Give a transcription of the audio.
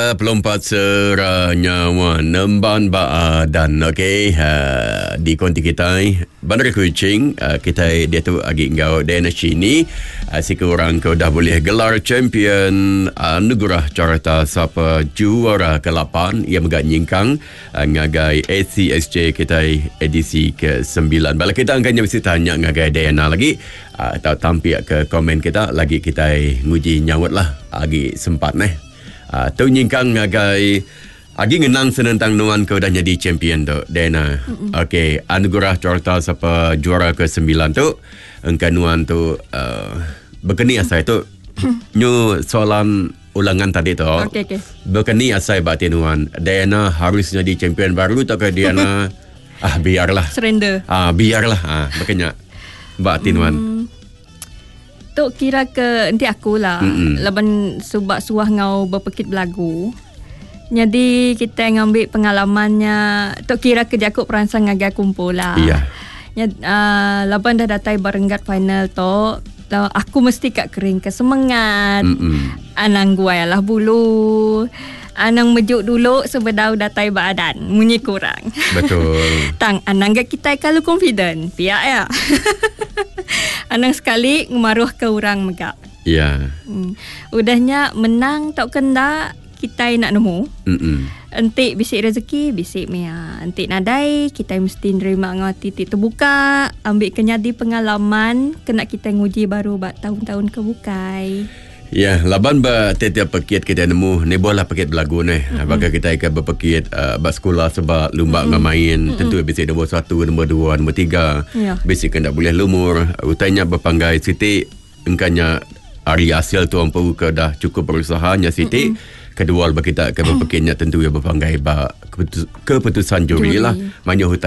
Pelompat sera nyawa nemban ba adan okey uh, di konti kitai Bandar Kuching uh, kitai diatu agi enggau Diana Shini uh, siku orang ke udah boleh gelar champion anugerah carta sapa juara ke-8 ia mega nyingkang uh, ngagai ACSJ kitai edisi ke-9. Bala kita angkanya bisi tanya ngagai Diana lagi uh, atau tampik ke komen kita lagi kitai nguji nyaut lah agi sempat neh. Uh, tu nyingkang ngagai agi ngenang senentang nuan ke udah nyadi champion tu Diana. Okey, anugerah carta sapa juara ke-9 tu engka nuan tu uh, bekeni asai tu nyu soalan ulangan tadi tu. Okey okey. Bekeni asai ba ati nuan Diana harus nyadi champion baru tau ke Diana ah biarlah. Surrender. Ah biarlah ah bekenya ba ati nuan. Tu kira ke enti aku lah mm-hmm. laban suba suah ngau bepekit belagu. Nyadi kita ngambil pengalamannya tu kira ke jaku peransang ngagai aku empu lah. Yeah. Nya uh, laban dah datai ba renggat final tu aku mesti ka kering ke semangat. Mm-mm. Anang guai alah bulu. Anang mejuk dulu sebedau datai ba adan. Munyi kurang. Betul. Tang anang ga kitai kalu confident. Pia ya. anang sekali ngemaruh ke orang mega. Ya. Udah nya menang tauka enda kitai nak nemu. Mm-mm. Enti bisi rezeki bisi mia. Enti nadai kitai mesti nerima enggau ati ti terbuka ambi ke nyadi pengalaman kena kitai nguji baru ba taun-taun ke bukai. Ya, laban ba tiap-tiap pekit kitai nemu nibuh lah pekit belagu neh. Mm-hmm. Baka kitai ke bepekit uh, ba sekula seba lumba mm-hmm. main mm-hmm. tentu bisi nombor satu, nombor dua, nombor tiga. Yeah. Bisi ke enda boleh lumur. Utai nya bepanggai siti engkanya ari hasil tu empu ke dah cukup berusaha nya siti. Mm-hmm. Kedua ba kita ke bepekit nya tentu ya bepanggai ba keputusan juri, juri lah. Mayuh utai.